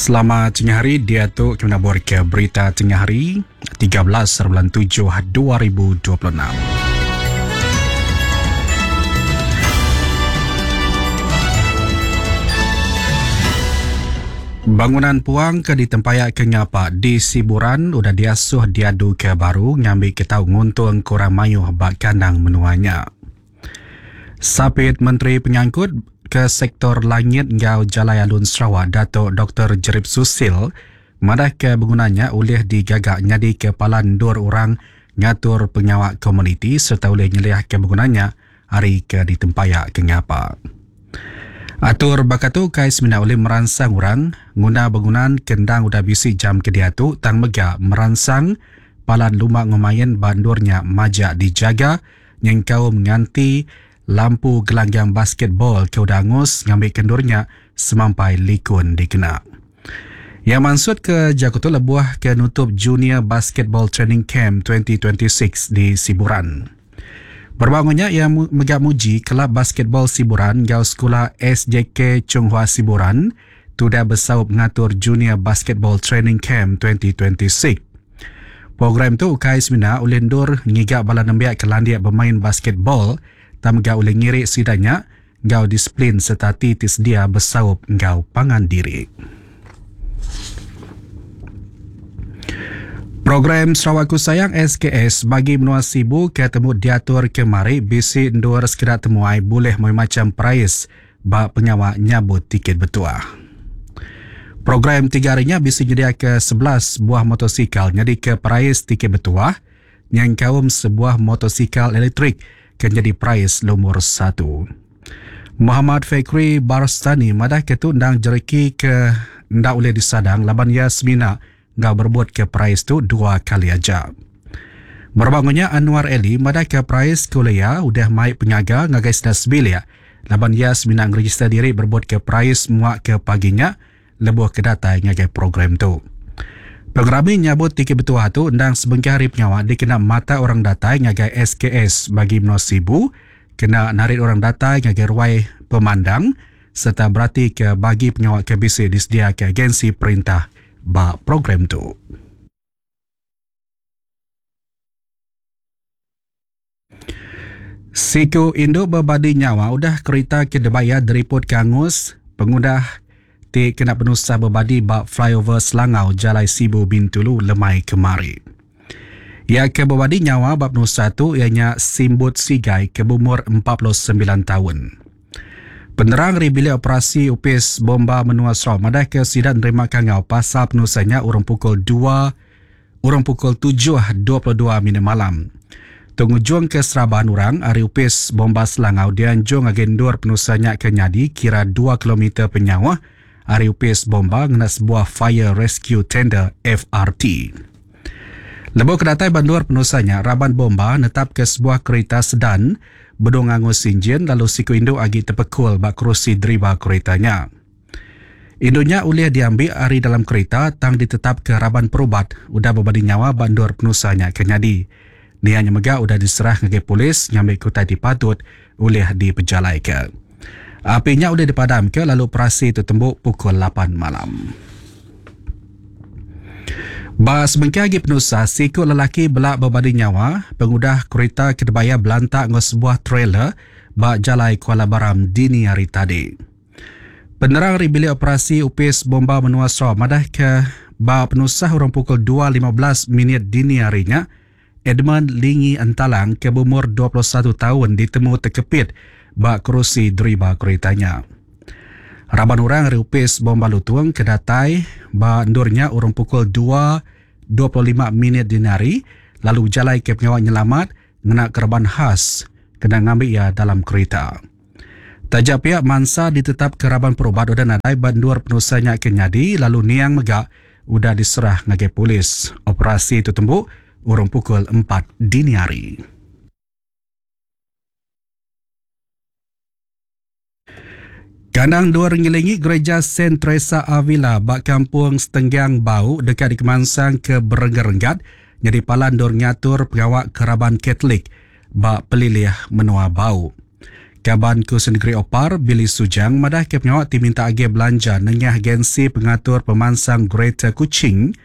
Selamat tengah hari diatu kami nabur ke berita tengah hari 13 bulan 7 2026. Bangunan puang ke ditempaya ke ngapa di Siburan udah diasuh diadu ke baru ngambi ke tau nguntung ke orang mayuh ba kandang menua nya. Sapit Menteri Pengangkut ke Sektor Langit enggau Jalai Alun Sarawak Datuk Doktor Jerip Susil madahka bengunan nya ulih digaga nyadika palan endur orang ngatur pengawa komuniti sereta ulih nyeliahka bengunan nya ari ke ditempaya ke ngapa. Atur baka tu ukai semina ulih meransang orang nguna bengunan ke endang udah bisi jam ke diatu tang mega meransang palan lumba enggau main ba endur nya majak dijaga nyengkaum nganti lampu gelanggang basketball ke udah angus ngambika endur nya semampai likun dikena. Iya mansutka jaku tu lebuh ke nutup Junior Basketball Training Camp 2026 di Siburan. Berebak enggau nya, iya mega muji Kelab Basketball Siburan enggau Sekula SJK Chunghua Siburan tudah besaup ngatur Junior Basketball Training Camp 2026. Program tu ukai semina ulih endur ngiga bala nembiak ke landik bemain basketball tang mega ulih ngiri sida nya enggau disiplin sereta ati ti sedia besaup enggau pangan diri. Program Sarawakku Sayang SKS bagi menua Sibu ke temu diatur kemari bisi endur sekeda temuai bulih mayuh macham perais ba pengawa nyabut tiket betuah. Program tiga hari nya bisi nyediaka 11 buah motosikal nyadika perais tiket betuah nyengkaum sebuah motosikal elektrik ke nyadi perais lumur satu. Muhammad Fekri Barstani madahka tu endang jereki ke enda ulih disadang laban iya semina enggau berebutka perais tu dua kali aja. Berebak enggau nya, Anwar Eli madahka perais ke ulih iya udah mai pengaga ngagai sida sebilik laban iya semina ngerejister diri berebutka perais muak ke pagi nya lebuh ke datai ngagai program tu. Pengerami nyabut tiket betuah tu endang sebengkah ari pengawa dikena matak orang datai ngagai SKS bagi menua Sibu kena narit orang datai ngagai ruai pemandang sereta beratika bagi pengawa ke bisi disediaka agensi perintah ba program tu. Siku indu bebadi nyawa udah kerita ke dibayar diripotka angus pengudah ti kena penusah bebadi ba flyover Selangau Jalai Sibu Bintulu lemai kemari. Iya ke bebadi nyawa ba penusah tu iya nya Simbut Sigai ke beumur 49 taun. Penerang ari Bilik Operasi Opis Bomba Menua Sarawak madahka sida nerima kangau pasal penusah nya urung pukul dua urung pukul 7.22 minit malam. Tu ngujungka seraban orang ari Opis Bomba Selangau dianjung ngagai endur penusah nya ke nyadi kira dua kilometer penyauh ari Opis Bomba ngena sebuah Fire Rescue Tender, FRT. Lebuh ke datai ba endur penusah nya, raban bomba netapka sebuah kerita sedan benung angus injin lalu siku indu agi tepekul ba kerusi deriba kerita nya. Indu nya ulih diambi ari dalam kerita tang ditetapka raban perubat udah bebadi nyawa ba endur penusah nya ke nyadi. Nia nya mega udah diserah ngagai polis ngambika utai ti patut ulih dipejalaika. Api nya ulih dipadamka lalu operasi tu tembu pukul lapan malam. Ba sebengkah agi penusah, siku lelaki bela bebadi nyawa pengudah kerita ke dibayar belantak enggau sebuah trailer ba Jalai Kuala Baram dini hari tadi. Penerang ari Bilik Operasi Opis Bomba Menua Sarawak madahka ba penusah urung pukul 2.15 minit dini hari nya, Edmund Lingi Entalang ke beumur 21 taun ditemu tekepit ba kerusi deriba kerita nya. Raban orang ari Opis Bomba Lutung ke datai ba endur nya urung pukul 2.25 minit dini hari lalu bejalaika pengawa nyelamat ngena kereban khas kena ngambi iya dalam kerita. Taja pia mansa ditetapka raban perubat udah nadai ba endur penusah nya ke nyadi lalu niang mega udah diserah ngagai polis. Operasi tu tembu urung pukul empat dini hari. Kandang endur ngelingi Gereja Saint Teresa Avila ba Kampung Setenggang Bau deka dikemansang ke berenggat-renggat nyadi palan endur ngatur pengawa ke raban Katolik ba pelilih menua Bau. Kaban Kunsil Negeri Opar, Billy Sujang madahka pengawa ti minta agih belanja nengah Agensi Pengatur Pemansang Greater Kuching,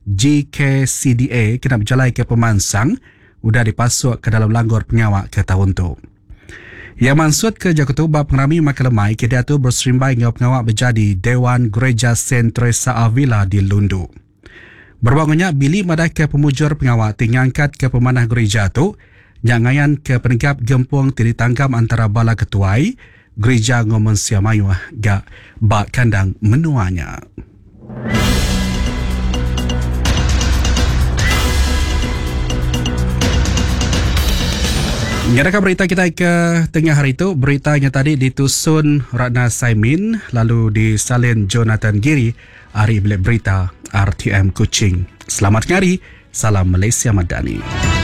GKCDA, kena bejalaika pemansang udah dipasukka dalam langgur pengawa ke taun tu. Iya mansutka jaku tu ba pengerami makai lemai ke diatur beserimbai enggau pengawa bejadi Dewan Gereja Saint Teresa Avila di Lundu. Berebak enggau nya, Billy madahka pemujur pengawa ti ngangkatka pemanah gerija tu nya ngayanka penegap gempung ti ditanggam antara bala ketuai gerija enggau mensia mayuh ga ba kandang menua nya. Nyadaka berita kitai ke tengah hari tu, berita nya tadi ditusun Ratna Saimin lalu disalin Jonathan Giri ari Bilik Berita RTM Kuching. Selamat tengah hari, salam Malaysia Madani.